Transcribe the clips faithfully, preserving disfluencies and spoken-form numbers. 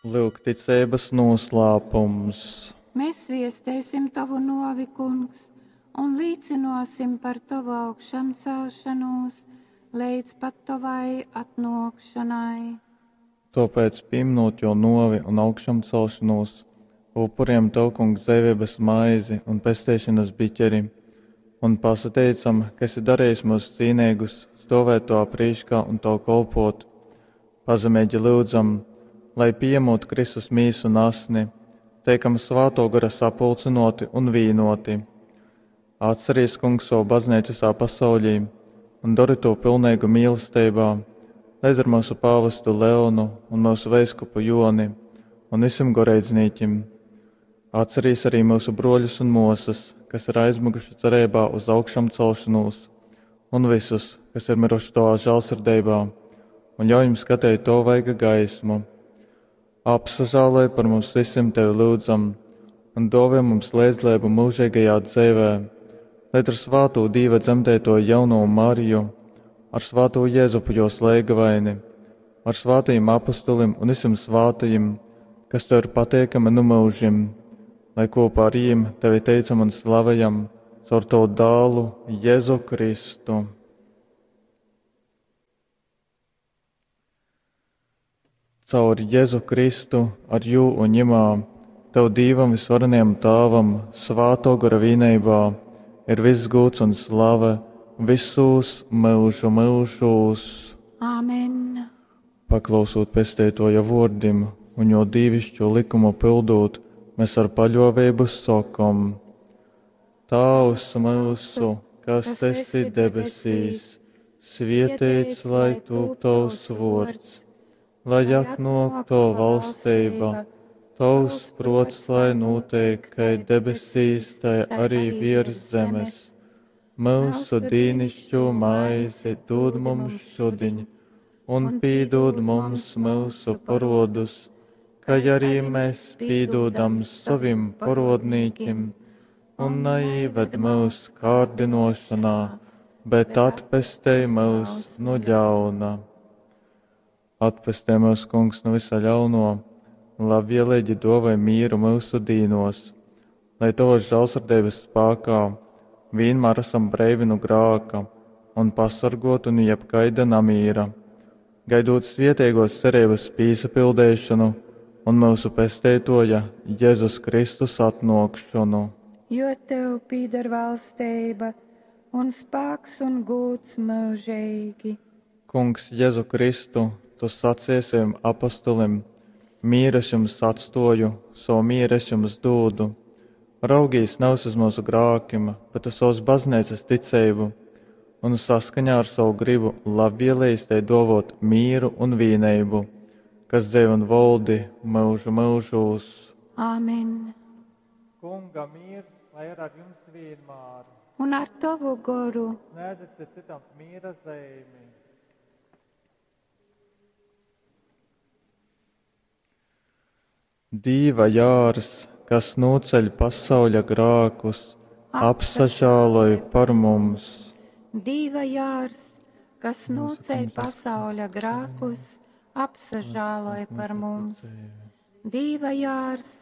Lyuk ticeibas noslēpums. Mēs viestēsim Tavu novi, Kungs, un līcinosim par Tavu augšamcelšanos leidz pat Tavai atnōkšanai. Tāpēc, pieminot jo novi un augšamcelšanos, upuriem Tev, Kungs, dzeivības maizi un pestīšanas biķeri, un pasateicam, ka esi darījis mūs cīnīgus, stovēt Tavā prīškā un Tev kolpot. Pazemīgi lūdzam, lai pieņemot Kristus mīsu un asni, teikam Svēto Gara sapulcinoti un vīnoti. Atcerīs, Kungs, savu baznīcu visā pasaulī un dari to pilnīgu mīlestībā, līdz ar mūsu pāvestu Leonu un mūsu veiskupu Joni un visiem goreidznīķim. Atcerīs arī mūsu broļus un mosas, kas ir aizmuguši cerībā uz augšām celšanos, un visus, kas ir miruši Tavā žēlsirdībā, un ļauj jums skatīt to vaiga gaismu. Apsažāloj par mums visiem Tevi lūdzam, un dāvā mums līdzdalību mūžīgajā dzīvē, lai ar svāto Dīva dzemdēto jauno Mariju, ar svāto Jēzupu jos leigavaini, ar svātajiem apustulim un visiem svātajiem, kas Tev ir pateikami nu mūžim, lai kopā ar jiem Tevi teicam un slavējam caur Tavu dālu Jēzu Kristu. Caur Jēzu Kristu, ar jū un ņemā, Tev Dīvam visvarenajam Tāvam, svāto gara vīneibā, ir viss gūts un slave visos mūžu mūžos. Āmen. Paklausot pestētoja vārdim un jo dīvišķo likumu pildot, mēs ar paļāvību sakam: Tēvs mūsu, kas esi debesīs, svētīts lai tūp tavs vārds, lai atnāk tava valstība, tavs prots, lai notiek, kai debesīs, tai arī virs zemes. Mūsu dīnišķo maizi dod mums šodien, un pīdod mums mūsu parodus, kā arī mēs pīdodam savim parodnīkim, un neieved mūs kārdinošanā, bet atpestej mūs no ļauna. Atpestē mūs, Kungs, no visa ļauno, un labvēlīgi dovai mīru mūsu dīnos, lai tavas žēlsirdības spēkā vienmēr esam breivi no grāka un pasargotu no jebkaida namīra, gaidot svietīgos cerības pīsapildīšanu un mūsu pesteitoja Jēzus Kristus atnākšanu. Jo Tev pīdar valstība un spēks un gūts mūžīgi. Kungs, Jēzu Kristu, Tu sacīji saviem apustulim: Mieru es jums atstoju, savu mieru es jums dodu. Raugīs nevis uz mūsu grākiem, bet uz savas baznīcas ticību, un saskaņā ar savu gribu labvēlījis tai dovot mieru un vīnību, kas dzīvo un valdi mūžu mūžos. Āmen. Kunga miers, lai ir ar jums vienmēr. Un ar tavu goru. Sniedziet citam miera zīmi. Dīva jārs, kas noceļ pasauļa grākus, apsažāloj par mums. Dīva jārs, kas noceļ pasauļa grākus, apsažāloj par mums. Dīva jārs,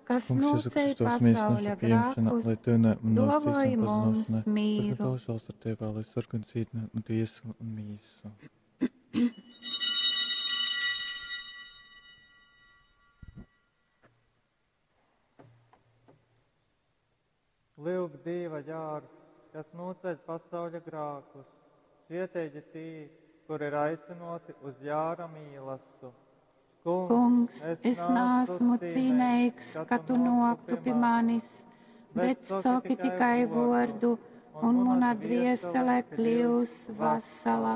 kas noceļ pasauļa grākus, dovoj mums mīru. Lai sarkan cītne un tiesa un mīsa. Lūk, Dieva jārs, kas noceļ pasauļa grākus, svietīgi tī, kur ir aicinoti uz jāra mīlastu. Kungs, es neesmu cīnīgs, ka tu noktu pie manis, bet saki tikai vārdu, un mana dviesele kļūs vesela.